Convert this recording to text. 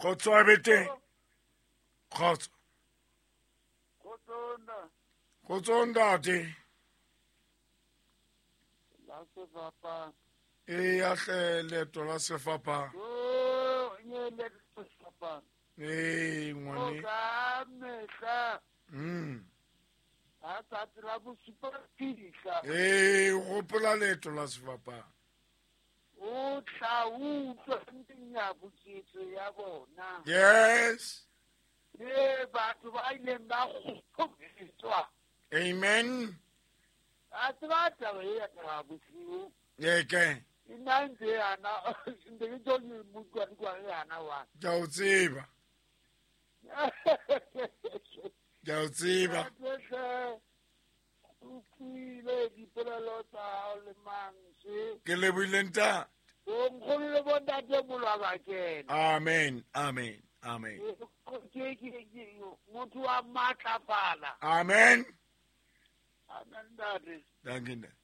Kgotso a be teng. Kgotso. Kgotso ntate. La sefapano. Eya hle leeto la sefapano. Oh, nye leeto la sefapano. Ee ngwane. O ka mehla. Ha tsatsi la bosupa fihla. Ee, o gopola leeto la sefapano. O tla utlwa menyabuketso ya bona. Yes. Ee, batho ba ileng ba kgobetswa. Amen. A tseba taba e ya taba bosiu. Ee ke. Nna ntse yana, ntse ke tlo ke utlwa utlwa yana wa. Ke a o tseba. Ke a o tseba. Hle, utlwile dipolelo tsa hao le mantswe. Ke lebohile ntate. Bonkgono le bontate molwa ba kena. Amen, amen, amen. Ke motho wa matlafala. Amen. Amen ntate. Danke ntate.